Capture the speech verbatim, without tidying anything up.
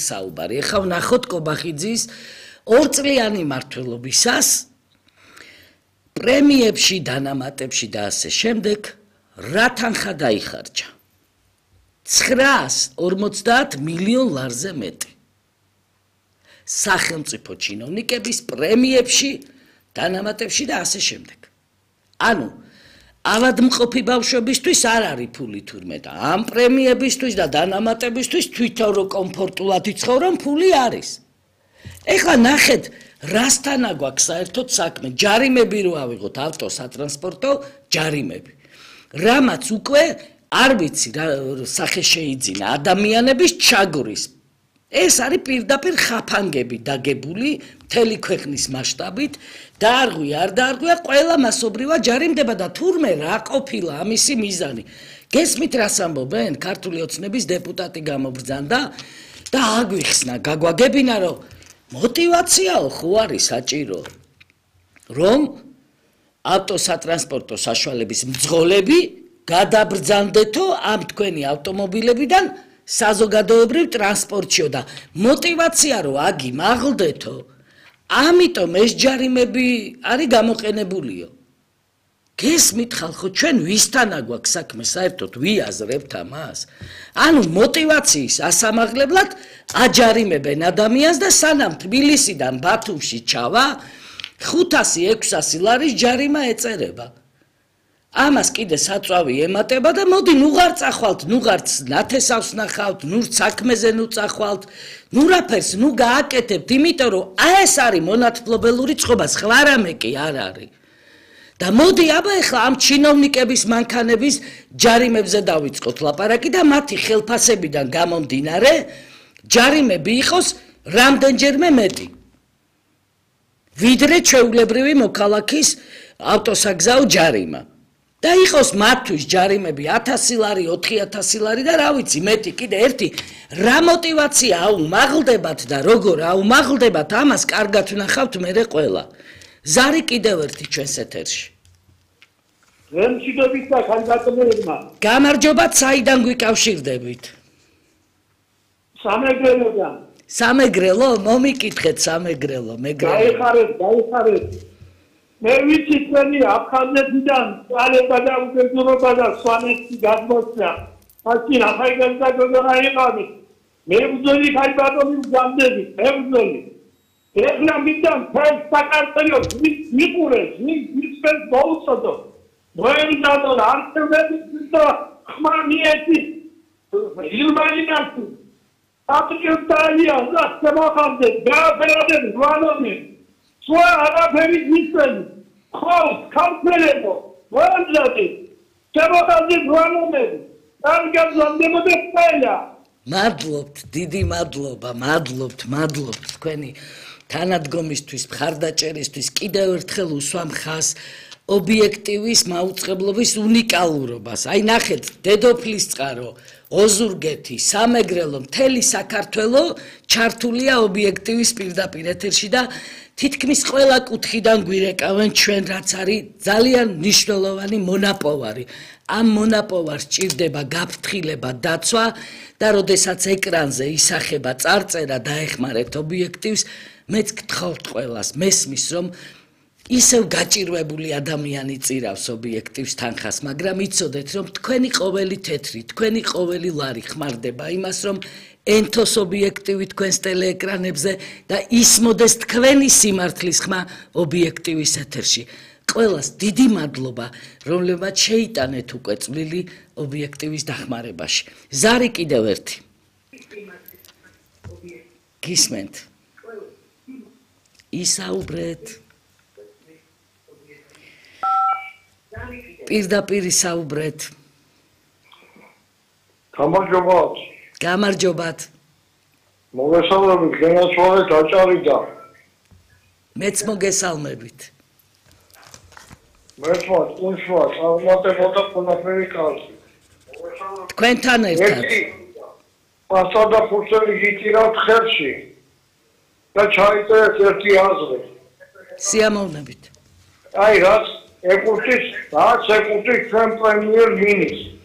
საუბარი. ეხლა ვნახოთ კობახიძის ორწლიანი მმართველობისას პრემიებში, დანამატებში და ასე შემდეგ რა თანხა დაიხარჯა? ცხრაას ორმოცდაათ მილიონ ლარზე მეტი. სახელმწიფო ჩინოვნიკების პრემიებში, დანამატებში და ასე შემდეგ. ანუ ავადმყოფი ბავშვებისთვის არ არის ფული თურმე და ამ პრემიებისთვის და დანამატებისთვის თვითონ რო კომფორტულად იცხოვრონ, ფული არის. ეხლა ნახეთ, რასთან აგვაქვს საერთოდ საქმე? ჯარიმები რო ავიღოთ ავტოსატრანსპორტო ჯარიმები. რამაც უკვე არ ვიცი რა სახე შეიძინა ადამიანების ჩაგვრის. ეს არის პირდაპირ ხაფანგები დაგებული მთელი ქვეყნის მასშტაბით, დაარღვია არ დაარღვია, ყველა მასობრივად ჯარიმდება და თურმე რა ყოფილა ამისი მიზანი. გესმით რას ამბობენ? ქართული ოცნების დეპუტატი გამობრძანდა და აგვიხსნა, გაგვაგებინა, რომ მოტივაციაო ხო არის საჭირო, რომ ავტოსატრანსპორტო საშუალების მძღოლები გადაბრძანდეთო ამ თქვენი ავტომობილებიდან საზოგადოებრივ ტრანსპორტშიო და მოტივაცია რომ აგი მაღლდეთო, ამიტომ ეს ჯარიმები არის გამოყენებულიო. გესმით ხალხო, ჩვენ ვისთან აგვაქვს საქმე საერთოდ ვიაზრებთ ამას? ანუ მოტივაციის ასამაღლებლად აჯარიმებენ ადამიანს და სანამ თბილისიდან ბათუმში ჩავა, ხუთასი ექვსასი ლარის ჯარიმა ეწერება. ამას კიდე საწვავი ემატება და მოდი ნუღარ წახვალთ, ნუღარც ნათესავს ნახავთ, ნუ საქმეზე ნუ წახვალთ, ნუ რაფერს ნუ გააკეთებთ, იმიტომ რომ ეს არის მონათმფლობელური წყობა, სხვა რამე კი არ არის. და მოდი აბა ეხლა ამ ჩინოვნიკების მანქანების ჯარიმებზე დავიწყოთ ლაპარაკი და მათი ხელფასებიდან გამომდინარე ჯარიმები იყოს რამდენჯერმე მეტი. ვიდრე ჩვეულებრივი მოქალაქის ავტოსაგზაო ჯარიმა. და იყოს მათთვის ჯარიმები ათასი ლარი, ოთხი ათასი ლარი და რა ვიცი, მეტი კიდე ერთი რა მოტივაცია აუმაღლდებათ და როგორ აუმაღლდებათ, ამას კარგად ვნახავთ მერე ყველა. ზარი კიდევ ერთი ჩვენს ეთერში. რემჩიდობით და ხანძატმერებმა. გამარჯობათ, საიდან გვიკავშირდებით? სამეგრელოდან. სამეგრელო? მომიკითხეთ სამეგრელო, მეგრელო. გაიხარეთ, გაიხარეთ. მე ვიცი თქვენი აფხაზეთიდან წალება და უგეძურობა და სვანეთი გადმოსცა. მაშინ ახალგაზრდა რა იყავი? მე ვძოლი ხაი ბატონი გამდები, მე ვძოლი. ეხლა მიდან ფერ საკარტელოს მიყურეს, მისფერს მოუწოდო. მოემზადო არჩევნების და ხმარნიეთი ილმაინაცი. აპრიოტალია და შემოხამდე გააფერადებ გვანონი. სვა არაფერი მისვენი. ხოს ქალფერებო, მოემზადე. შემოხამდე გვანონები. კარგად ზამდებოდე ყველა. მადლობთ, დიდი მადლობა, მადლობთ, მადლობთ თქვენი თანადგომისთვის, მხარდაჭერისთვის, კიდევ ერთხელ უსვამ ხაზს ობიექტივის მაუწყებლობის უნიკალურობას. აი ნახეთ, დედოფლისწყარო, ოზურგეთი, სამეგრელო, მთელი საქართველო ჩართულია ობიექტივის პირდაპირ ეთერში და თითქმის ყველა კუთხიდან გვირეკავენ ჩვენ, რაც არის ძალიან მნიშვნელოვანი მონაპოვარი. ამ მონაპოვარს ჭირდება გაფრთხილება, დაცვა და როდესაც ეკრანზე ისახება წარწერა დაეხმარეთ ობიექტივს, მეც გთხოვთ ყველას, მესმის რომ ისევ გაჭირვებული ადამიანი წირავს ობიექტივს თანხას, მაგრამ იცოდეთ რომ თქვენი ყოველი თეთრი, თქვენი ყოველი ლარი ხმარდება იმას, რომ ენთოს ობიექტივი თქვენს ტელეეკრანებზე და ისმოდეს თქვენი სიმართლის ხმა ობიექტივის ეთერში. ყველას დიდი მადლობა, რომლებმაც შეიტანეთ უკვე წვლილი ობიექტივის დახმარებაში. ზარი კიდევ ერთი. გისმენთ? ისაუბრეთ. პირდაპირ ისაუბრეთ. გამარჯობათ. გამარჯობათ. მოგესალმებით, გენაცვალეთ აჭარიდა. მეც მოგესალმებით. მერტვა, თუნშვა, წარმატებოდა ყველაფერი კარგი. თქვენთან ერთად. პასტა და ფურცელი გიტირავთ ხელში და ჩაიწერეთ ერთი აზრი. სიამოვნებით. აი რაც ეკუთვნის, რაც ეკუთვნის ჩვენ პრემიერ მინისტრს.